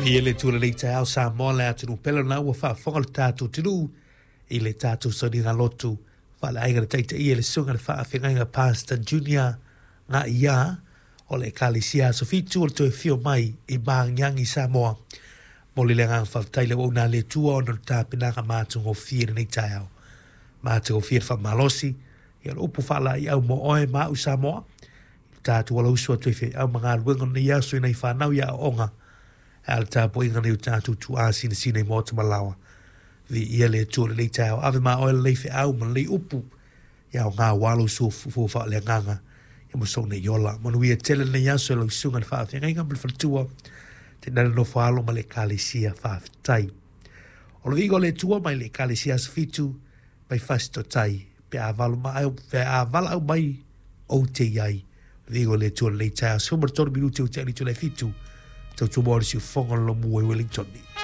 Viia le Atua i lenei taeao Samoa le atunuu pele lena ua faafofoga le tatou atunuu i le tatou sauniga lotu faaleaiga na taitaia e le Susuga i le Faafeagaiga Pastor Junior Ngaia o le Ekalesia Aso Fitu o le toe afio mai i Magiagi Samoa. Momoli le agaga faafetai i le auauna a le Atua ona o le tapenaga matagofie i lenei taeao. Matagofie le faamalosi, ia o le upu faalaeiau mo oe ma au Samoa, i le tatou alausu atu ai feau ma galuega o lenei aso i nai fanau i aoaoga, ae a le tapuaiga a nai o tatou tuaa sinasina i maota ma laoa. Viia le Atua i lenei taeao, ave ma oe lenei feau ma lenei upu, ia aoga aua lou soifua faaleagaga ia ma sou nei ola. Manuia tele lenei aso i lau susuga i le faafeagaiga ma le faletua, tainane le nofo a alo ma le Ekalesia. Faafetai. O le viiga o le Atua mai le Ekalesia Aso Fitu mai Fasitotai pe a valo ma pe a valaau mai ou te i ai. Viiga o le Atua i lenei taeao. 13 minute ua tea i le itula e 7. Tautua mo le siufofoga o le Lomu i Wellington.